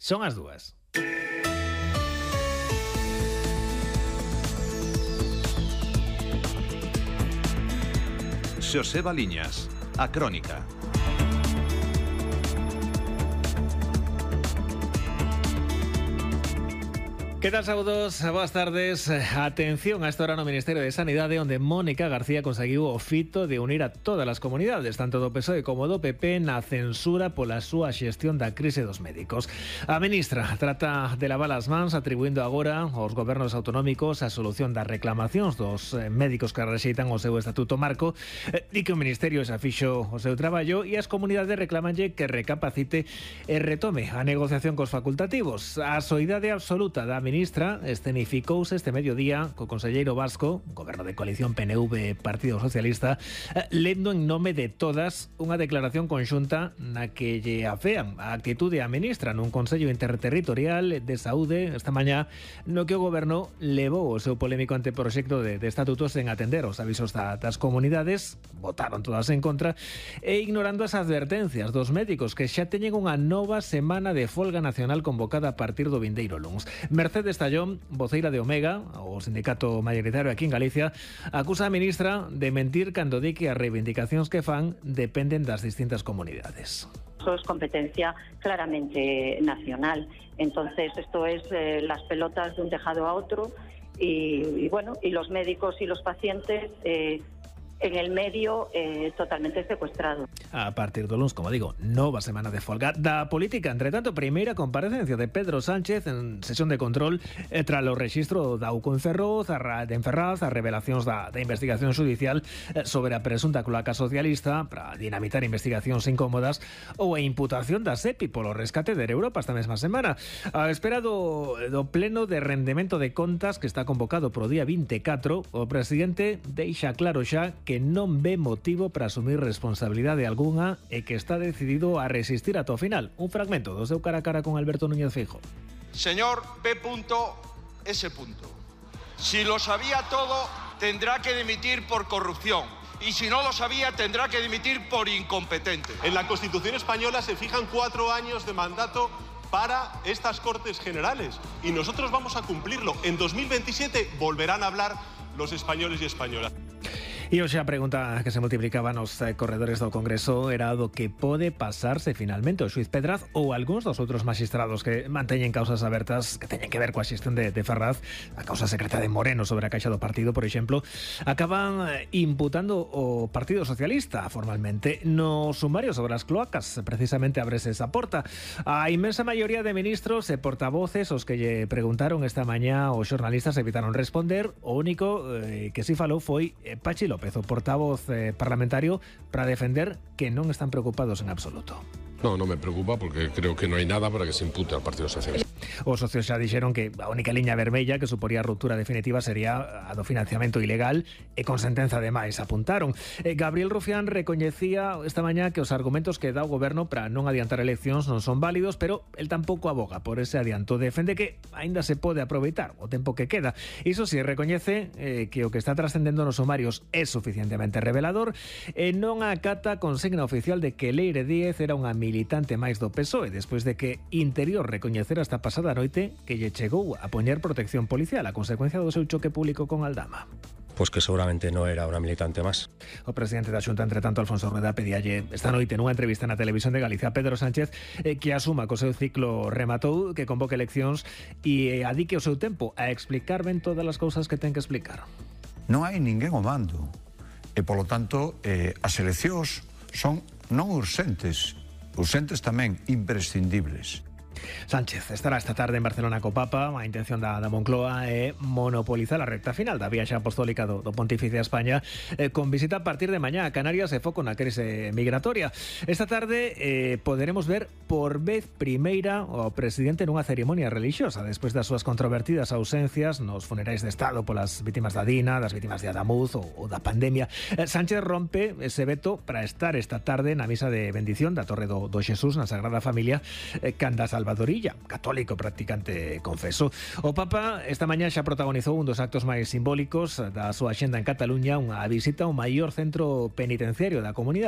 Son as 2. Xoseba Liñas, a Crónica. Que tal, saudos? Boas tardes. Atención a esta hora no Ministerio de Sanidade, onde Mónica García conseguiu o fito de unir a todas as comunidades, tanto do PSOE como do PP, na censura pola súa xestión da crise dos médicos. A ministra trata de lavar as mans, atribuindo agora aos gobernos autonómicos a solución das reclamacións dos médicos que rexeitan o seu estatuto marco. Di que o Ministerio xa fixo o seu traballo e as comunidades reclamanlle que recapacite e retome a negociación cos facultativos. A soidade absoluta da ministra escenificouse este mediodía co conselleiro vasco, goberno de coalición PNV-Partido Socialista, lendo en nome de todas unha declaración conxunta na que lle afean a actitude a ministra nun Consello Interterritorial de Saúde esta mañá, no que o goberno levou o seu polémico anteproxecto de estatutos sen atender os avisos das comunidades, votaron todas en contra, e ignorando as advertencias dos médicos que xa teñen unha nova semana de folga nacional convocada a partir do vindeiro luns. Mercedes Tallón, voceira de Omega, o sindicato mayoritario aquí en Galicia, acusa a ministra de mentir cando di que as reivindicacións que fan dependen das distintas comunidades. Eso es competencia claramente nacional. Entonces, esto es las pelotas de un tejado a otro y bueno, y los médicos y los pacientes en el medio totalmente secuestrado. A partir do luns, como digo, nova semana de folga da política. Entre tanto, primeira comparecencia de Pedro Sánchez en sesión de control tras o rexistro da UCO en Ferraz, as revelacións da investigación judicial sobre a presunta cloaca socialista para dinamitar investigacións incómodas ou a imputación da SEPI polo rescate de Europa esta mesma semana. A espera do pleno de rendemento de contas que está convocado pro día 24, o presidente deixa claro xa que non ve motivo para asumir responsabilidade algunha e que está decidido a resistir ata o final. Un fragmento do seu cara a cara con Alberto Núñez Feijóo. Señor P.S. Si lo sabía todo, tendrá que dimitir por corrupción. Y si no lo sabía, tendrá que dimitir por incompetente. En la Constitución española se fijan 4 años de mandato para estas Cortes Generales y nosotros vamos a cumplirlo. En 2027 volverán a hablar los españoles y españolas. E hoxe a pregunta que se multiplicaba nos corredores do Congreso era do que pode pasarse finalmente o xuiz Pedraz ou algúns dos outros maxistrados que manteñen causas abertas que teñen que ver coa xestión de Ferraz, a causa secreta de Moreno sobre a caixa do partido, por exemplo, acaban imputando o Partido Socialista formalmente. No sumario sobre as cloacas precisamente abrese esa porta. A inmensa maioría de ministros e portavoces os que lle preguntaron esta mañá os xornalistas evitaron responder. O único que si falou foi Pachi López, o portavoz parlamentario, para defender que non están preocupados en absoluto. No me preocupa porque creo que no hay nada para que se impute al Partido Socialista. Os socios xa dixeron que a única liña vermella que suporía a ruptura definitiva sería a do financiamento ilegal e con sentenza de máis, apuntaron. Gabriel Rufián recoñecía esta mañá que os argumentos que dá o goberno para non adiantar eleccións non son válidos, pero el tampouco aboga por ese adianto. Defende que aínda se pode aproveitar o tempo que queda. Iso si, recoñece que o que está trascendendo nos sumarios é suficientemente revelador e non acata a consigna oficial de que Leire Díez era unha militante máis do PSOE, despois de que Interior recoñecera esta pasada noite que lle chegou a poñer protección policial a consecuencia do seu choque público con Aldama. Pues que seguramente no era una militante más. O presidente da Xunta, entre tanto, Alfonso Rueda, pedíalle esta noite nunha entrevista na Televisión de Galicia a Pedro Sánchez que asuma que o seu ciclo rematou, que convoque eleccións e adique o seu tempo a explicar ben todas as cousas que ten que explicar. Non hai ninguén ao mando e, polo tanto, as eleccións son non urxentes tamén imprescindibles. Sánchez estará esta tarde en Barcelona co Papa. A intención da Moncloa é monopolizar a recta final da viaxe apostólica do Pontífice a España, con visita a partir de mañá a Canarias e foco na crise migratoria. Esta tarde poderemos ver por vez primeira o presidente nunha cerimonia religiosa despois das súas controvertidas ausencias nos funerais de Estado polas vítimas da Dina, das vítimas de Adamuz ou da pandemia. Sánchez rompe ese veto para estar esta tarde na misa de bendición da Torre do Xesús na Sagrada Familia canda Salvadorilla, católico practicante confeso. O Papa esta mañá xa protagonizou un dos actos máis simbólicos da súa axenda en Cataluña, unha visita ao maior centro penitenciario da comunidade.